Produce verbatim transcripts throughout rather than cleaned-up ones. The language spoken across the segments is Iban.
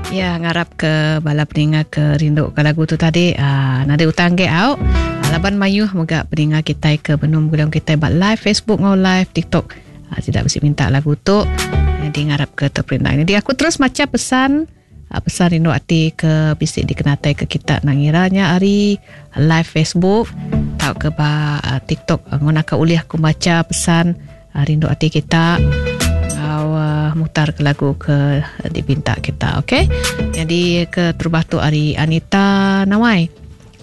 Ya ngarap ke bala peninga ke rindu ke lagu tu tadi uh, nada utang ge au. Laban mayuh moga peninga kita ke benum gulung kita buat live Facebook ngau live TikTok. Uh, tidak mesti minta lagu tu. Jadi ngarap ke terperintah. Jadi aku terus maca pesan uh, pesan rindu ati ke bisik dikenatai ke kita nangiranya hari live Facebook atau ke ba uh, TikTok uh, nguna ke ulih aku baca pesan uh, rindu ati kita. Uh, mutar ke lagu ke dipinta kita, okey. Jadi ke terubah tu hari Anita Nawai.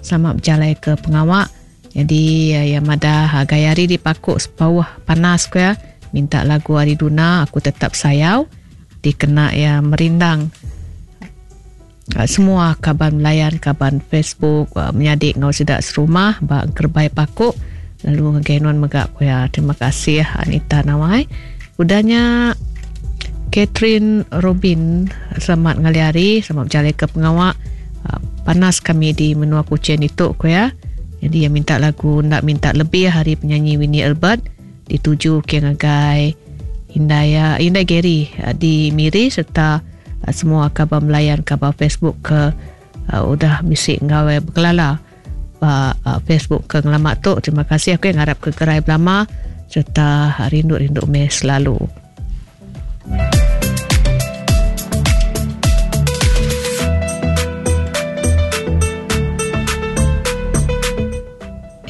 Selamat berjalan ke pengawak. Jadi uh, yang madah uh, gaya hari di Pakuk sepauh panas ke ya. Minta lagu hari Duna aku tetap sayau dikena ya merindang uh, semua kaban melayan kaban Facebook uh, menyadik ngau sidak serumah ba kerbai Pakuk lalu ngagai megak ya. Terima kasih Anita Nawai. Udahnya Catherine Robin, selamat ngali hari, selamat berjalan ke pengawak. Panas kami di menua Kuching itu ko ya. Jadi yang minta lagu nak minta lebih hari penyanyi Winnie Albert dituju ke ngagai Indaya Indai Gary di Miri serta semua kabar melayan kabar Facebook ke uh, udah bisik ngawe berkelala uh, Facebook ke ngelamak tu. Terima kasih aku yang harap ke gerai belama serta rindu-rindu me selalu.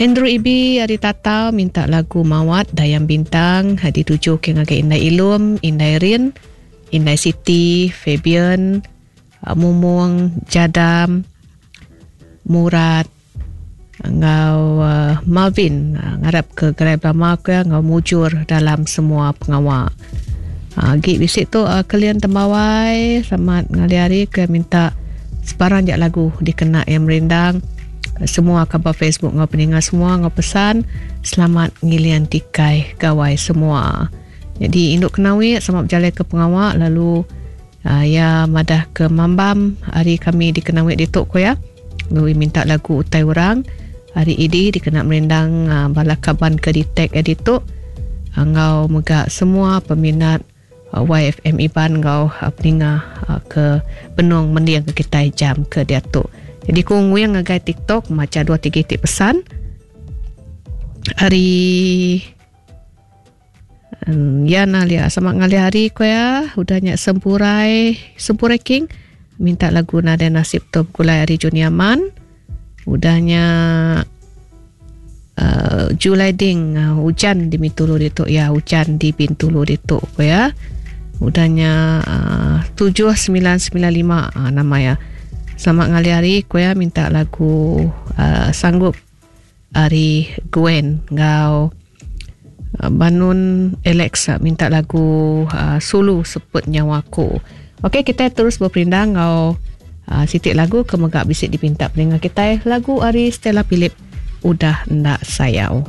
Andrew Ibi ari Tata minta lagu Mawat Dayang Bintang dituju ke ngagai Indai Ilum, Indai Rin, Indai Siti, Fabian, Mumung, Jadam, Murad, ngau uh, Marvin uh, ngarap ke gerai belama ke ngau mujur dalam semua pengawak. Uh, gig bisik tu uh, kalian tembawai selamat ngali hari ke minta sebarang jak lagu dikena yang merindang uh, semua kabar Facebook ngau peninga semua ngau pesan selamat ngilian tikai gawai semua. Jadi induk kenawi selamat berjalan ke pengawak lalu uh, ya madah ke Mambam hari kami dikenawi dituk ko ya. Lalu minta lagu utai orang hari ini dikena merindang uh, bala kaban ke di tag edituk ngau mega semua peminat uh, Y F M Iban ngau uh, peninga uh, ke benung mendiang ke kita jam ke diatu. Jadi ku nguyang ngagai TikTok maca dua tiga titik pesan hari um, ya nalia sama ngali hari ko ya udahnya sempurai sempurai king minta lagu Nada Nasib Top Gulai hari Juniaman. Udahnya uh, Julai Ding uh, hujan di Bintulu ditu ya, hujan di Bintulu ditu ya. Udahnya uh, tujuh sembilan sembilan lima uh, nama ya. Selamat ngali hari ko ya minta lagu uh, Sanggup hari Gwen ngau uh, Banun Alexa minta lagu uh, Sulu Seput Nyawaku. Okey, kita terus berperindang ngau uh, sitik lagu ke megak bisik dipinta pendengar kita lagu ari Stella Philip Udah Ndak Sayau.